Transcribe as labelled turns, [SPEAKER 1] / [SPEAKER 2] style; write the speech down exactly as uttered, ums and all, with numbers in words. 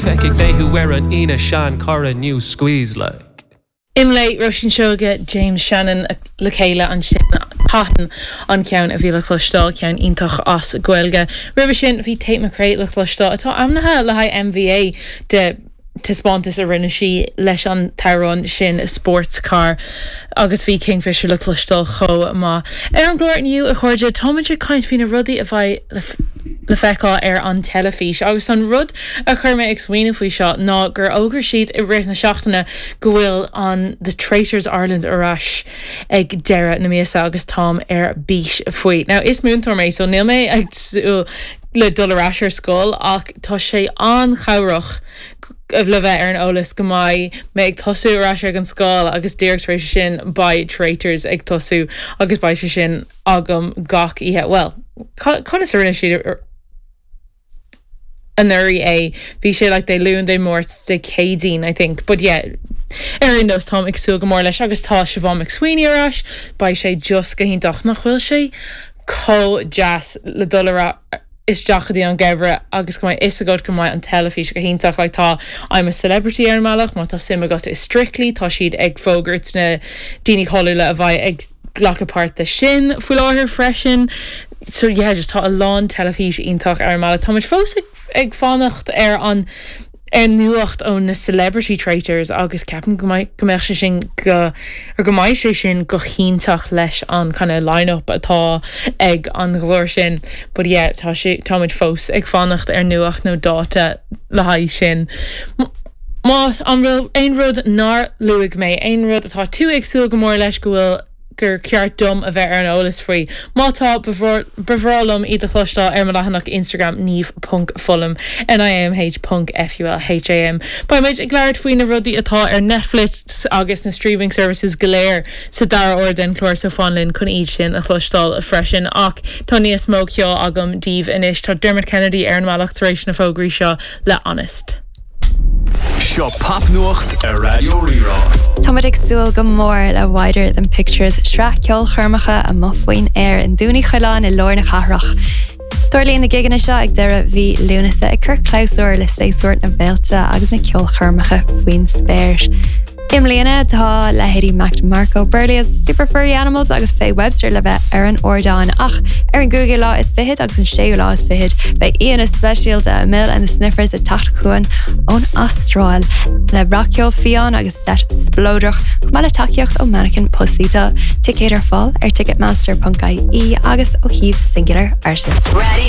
[SPEAKER 1] Feicfidh mé thú ar an Aoine seanchara new squeeze like.
[SPEAKER 2] Imlé Róisín Seoige James Shannon le chéile ansin Cotton an ceann a bhí le cloisteáil ceann iontach as Gaeilge. Roimhe sin bhí Tate McRae le cloisteáil atá ainmnithe le haghaidh MVA de taispeántas a rinne sí leis an t-amhrán sin sports car agus bhí Kingfisher le cloisteáil chomh maith. Ar an gclár inniu a chairde táimid ag caint faoi na rudaí a bheidh le, le feiceáil ar an teilifís agus an rud a chuir mé ag smaoineamh faoi seo ná gur fhógair siad i rith na seachtaine go bhfuil an The Traitors Ireland ar ais ag deireadh na míosa agus táim ar bís faoi. Now is múinteoir mé so níl mé ag súil le dul ar ais ar scoil ach tá sé an-chabhrach le bheith ar an eolas go mbeidh mé ag tosú ar ais ag an scoil agus díreach tar éis sin beidh Traitors ag tosú agus beidh sé sin agam gach oíche. Well, conas a rinne siad anuraidh é bhí sé like Dé Luain Dé Máirt Dé Céadaoin I think but yeah ar aon nós táim ag súil go mór leis agus tá Siobhán McSweeney ar ais beidh sé just go hiontach nach bhfuil sé chomh deas le dul ar isteach go dtí an geimhreadh agus go mbeidh fhios agat go mbeidh an teilifís go hiontach like tá I'm a celebrity ar an mbealach má tá suim agat i Strictly tá siad ag fógairt na daoine cáiliúla a bheidh ag glacadh páirt de sin faoi láthair freisin. So yeah, just tá a lán teilifís iontach ar an mbealach. Táimid fós ag, ag fanacht ar an ar nuacht ó na celebrity traitors agus ceapaim go mbeidh go mbeadh sé sin go ar go mbeidh sé sin go hiontach leis an kind of line-up atá ag an gclár sin. But yeah, tá sé táimid fós ag fanacht ar nuacht nó dáta le haghaidh sin. Má an bhfuil aon rud nár luaigh mé aon rud atá tú ag súil go mór leis go bhfuil gur ceart dom a bheith ar an eolas faoi. Má tá ba bhreá liom iad a chloisteáil ar mo leathanach Instagram niamh.fulham NIAMH.FULHAM. Beimid ag labhairt faoi na rudaí atá ar Netflix agus na streaming services go léir sa dara huair den chlár so fan linn chun iad sin a chloisteáil freisin ach tá níos mó ceoil agam daoibh anois tá Dermot Kennedy ar an mbealach tar éis na fógraí seo le Honest.
[SPEAKER 3] Seo popnuacht ar Raidió Rí-Rá.
[SPEAKER 4] Táimid ag súil go mór le Wider Than Pictures sraith ceolchoirmeacha amuigh faoin aer i nDún Uí Choileáin i lár na cathrach. Tarlaíonn na gigeanna seo ag deireadh mhí Lúnasa ag cur clabhsúr le séasúr na bhféilte agus na ceolchoirmeacha faoin spéir. I mbliana tá leithéidí Mac DeMarco Berlioz, Super Furry Animals agus Faye Webster le bheith ar an ardán ach ar an gcúigiú lá is fiche agus an séú lá is fiche beidh aíonna speisialta Amyl and the Sniffers ag teacht chugainn ón Astráil le rac-cheol fiáin agus set spleodrach chomh maith le tacaíocht ó Mannequin Pussy tá ticéid ar fáil ar ticketmaster.ie agus ó shuíomh Singular Artist.
[SPEAKER 5] Radio